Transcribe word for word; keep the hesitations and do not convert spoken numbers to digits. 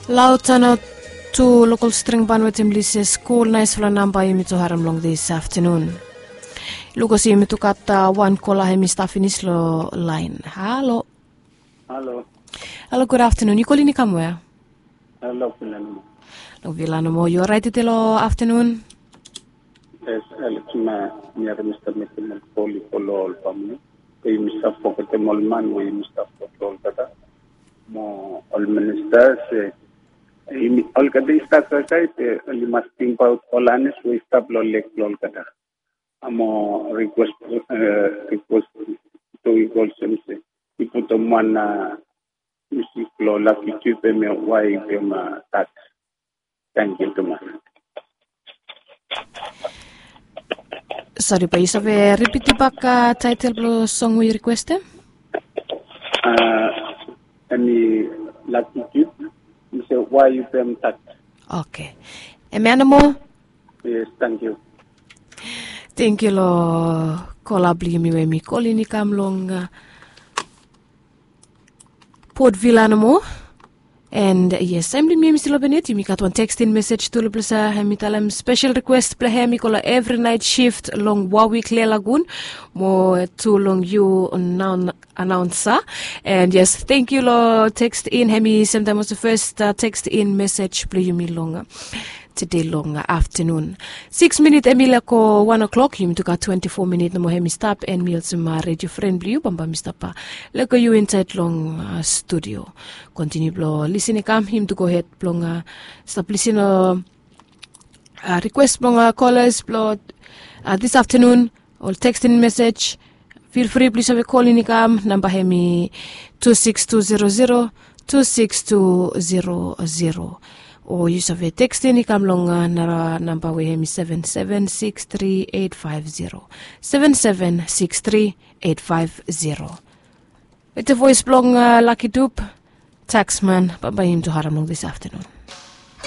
Lautano tu lokol string ban wetem lises kul naisfala namba yumi tu harim long dis aftanun. Lukas yumi tu gat wan kola hem i stap finis long lain. Halo. Halo. Halo, gud aftanun. Yu kolin i kam wea? Halo, Filan. Long Vila nomo. Yu orait ide long aftanun? Yes, Alex, ma mi harim i stap mekem ol kol i go long ol famili. Yumi stap fogetem ol man we yumi stap go long olgeta. Mo ol minista se yumi olgeta i stap kaikai be oli mas tingbaot ol anis we i stap long lek blong olgeta. Amo rikwes, rikwes tu i go olsem se i putum wan musik blong Lucky Dube, em ya, Why You Be My Thug. Tangkiu tumas. Sori, bae yu save ripit bak taetel blong song we yu rikwestem? Em i Lucky Dube, i se Why You Be My Thug. Oke. Em ya nomo? Yes, tangkiu. Tangkiu long kola blong yumi we hem i kolin i kam long Port Vila nomo. And yes, taem blong yumi hem i stil open yet, yumi gat wan tekstin mesej tu long ples ya, hem i talem spesel rikwes blong hem i go long evri naet shift long Warwick, Lelagun, mo tu long yu naon anaonsa. And yes, tangkiu long tekstin, hem i semtaem olsem fes tekstin mesej blong yumi long tede long aftanun. Sikis minit hem i laek go wan o'klok, yumi tu gat twenti fo minit nomo hem i stap, and mi olsem redio fren blong yu bambae mi stap lego yu insaed long studio. Kontiniu blong lisin i kam, yumi tu gohed blong stap lisin long rikwes blong kolas blong dis aftanun, ol tekstin mesej. Fil fri blong yu save kolin i kam, namba hem i tu sikis tu zero zero, tu sikis tu zero zero. O yu save tekstin i kam long nara namba we hem i seven seven six three eight five zero, seven seven six three eight five zero. Wetem voes blong Lucky Dube, Taxman, bambae yumi tu harim long dis aftanun.